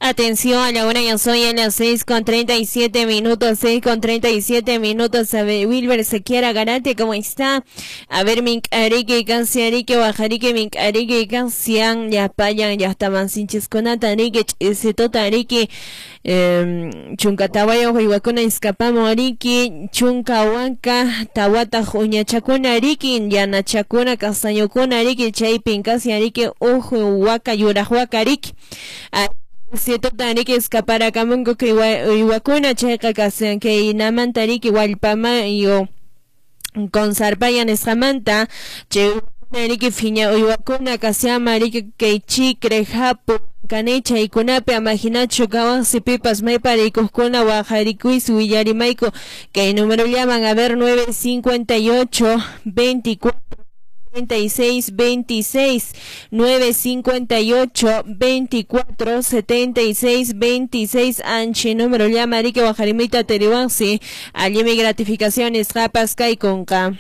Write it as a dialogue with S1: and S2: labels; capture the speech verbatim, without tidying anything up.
S1: Atención, a la hora ya soy a las seis con treinta y siete minutos, seis con treinta y siete minutos. A ver, Wilber Sequiera Garate, ¿cómo está? A ver, mink'ariki, kansiariki, wajariki, mink'ariki, kansian, ya payan, ya estaban sinchiskunata, riki, ch'isituta, riki, chunka tawayuq uywakuna iskapamun, riki, chunka wanka, tawataq uñachakuna, riki, yanachakuna, castañokuna, riki, chaypin kasian, riki, uhu waka, yuraq waka, riki. Situta riki escaparakamunku kay uywakuna chayqa kasian kay namanta riki wallpamayo consarpaya nisqamanta chay riki phiña uywakuna kasiama riki kay chicre hapu kani chaykunapi amahinachu kawan sipipas maypa rikuqkuna waqarikuysi willarimayku kay número llaman a ver nueve cincuenta y ocho veinticuatro setenta y seis veintiséis, nueve cincuenta y ocho veinticuatro setenta y seis veintiséis, anchi número llama riki wajarimita teriwansi allimi gratificaciones japas kaykunqa.